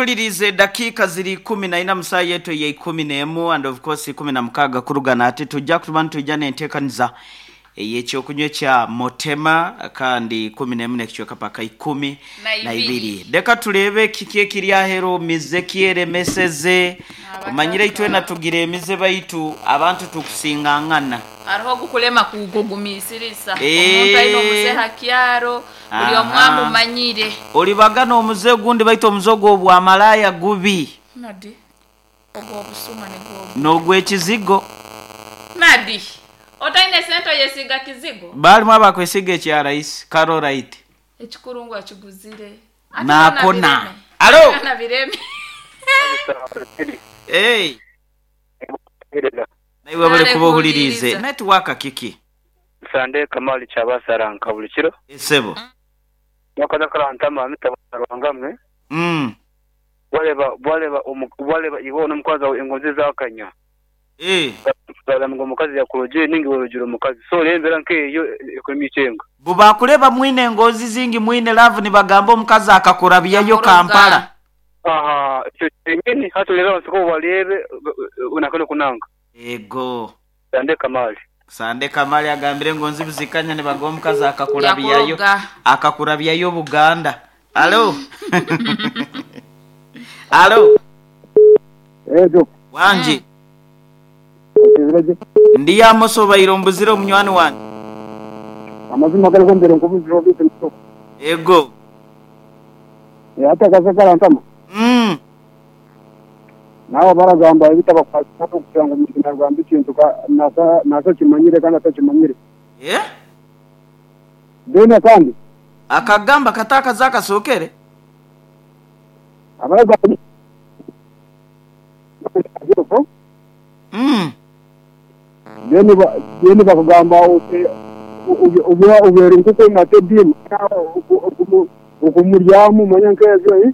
Tulirize dakiika ziri 14 mu saaha yetu eya 11 and of course 16 kurugana ati tujja kuba nitwija n'enteekaniza ey'ekyokunywa ekya Motema kandi 11 n'ekicweka paka ikumi Na na ibiri. ibiri. Leka tuleebe kiki ekiri aheru mize ki eremeseze. Omanyire itwena tugira emize baitu abantu tukusingangana. Hariho ogukulema kugugumisiriza. Eh. Omuntu aine omuze ha kyaro, buli omwe Aha. amumanyire. Olibagana omuze ogundi baitu omuze ogwo obwamalaaya gubi Nadi. Ogw'obusuma nigwo. n'ogw'ekizigo. Nadi. Otaine sente oyesiga kizigo? Balimu abakwesiga ekya rahisi Carolite. Ekikurungu akiguzire. Ate Naakona. byona bireme. Alo. Byona bireme. Hey. Naiwe bali Kale kuba ohuliriize. kuwuliriza. Netiwaaka kiki? Sande Kamali Kyabasaranka buli kiro Esebo. mwakaza karantama mitabarwangamwe Bwareba bwareba bwareba iwe n'omukazi wawe engonzi zakanya Eh. ngo omukazi yakurogire ninga iwe orogire omukazi so rero embeera nk'eyo ekurema icyenga Bubakuleba mwine engozi zingi mwine love nibagamba omukazi akakurabyayo Yamuroga. Kampala. Aha ekyo kyenyini hati orebe abantu ko barebe unakane kunanga Ego. Sande Kamali Sande Kamali agambire engonzi buzikanya nibagamba omukazi akakurabyayo. Yakuroga. Akakurabyayo Buganda. Alo. Alo. Ejo, Wangi. okizirege. Ndi Amoso baire mbuzire omunywani wange. Amazima gari gombere nkubuzira obite mutoko. Ego. Ate akaze karantama. Nawe baragamba ebitabakwasa kugira ngo omuntu nagamba ekintu nasa kimanyire kandi atakimanyire. Eh? Then akandi Akagamba katakaza akasokere. abaragamba Then then bakugamba uti uba ubera nkuko nate dini okumuryamu manya nk'ebyo eh?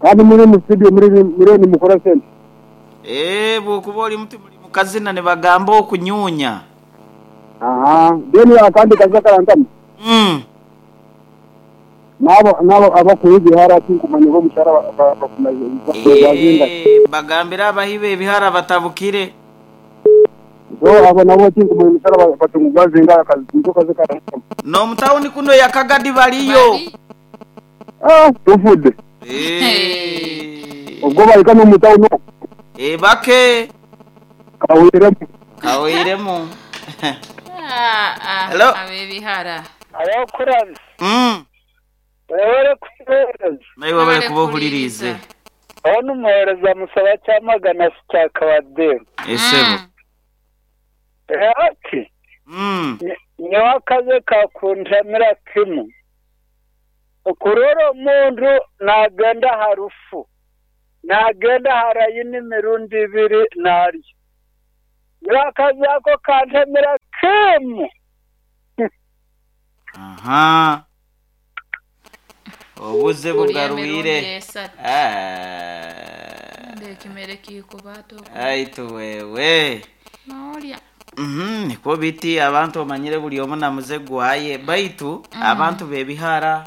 Kandi muri mu studio muri muri nimukora sente. Eh, bwokuba oli muti muli mukazina nibagamba okunyunya. Aha, then akandi kaza karantama. Nabo nabo abakuru ibihara tinkumanya bo mushara bazinga. Eh, bagambira abahibe ebihara batabukire. So abo nabo tinkumanya mushara batungu bazinga akazi nko kazi karantama. N'omutawuni kuno yakagadi baliyo. Bali. Ah, tufudde. Eh. Ubwo barika no mutawuni Eh, bake kawiremo. kaweiremu. Ah, ah, Hello. Ab'ebihara. abakuramya webale kuhereza Naiwe bali kuba ohuliriize. aho n'umuhereza musaba cyamagana cya kabademu Esebo. ati nyowe akaze kakuntamira kimwe okurora omundu nagenda harufu nagenda harayini emirundi ibiri naryo nyowe akaze ako kantamira kimwe Aha. Obuze Buli bugarwire. emirundi esatu. Ah. Ndekimere kikubato. Aitu wewe. Nolya. Nikwo biti abantu omanyire buli omu namuze gwaye baitu abantu b'ebihara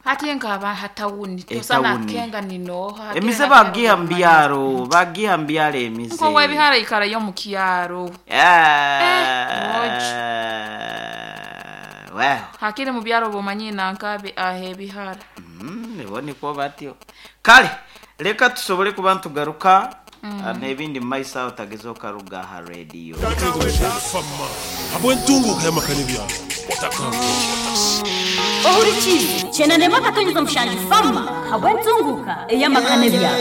Ate nkaba hatawuni tosana Etawuni. kenga ninoha. emize bagiha mu byaro bagiha mu byaro emize Nko w'ebihara ikarayo mu kyaro. Ah, well Hakiri mu byaro bomanyi nankabe ahe ebihara. Nibo nikwo batyo kale leka tusobole kuba ntugaruka n'ebindi mu maiso aho otageza okaruga aha rediyo Fama habwentunguka y'amakani byaro Ohurikize chenarema katonyeza mushanji fama habwentunguka eyamakane byaro.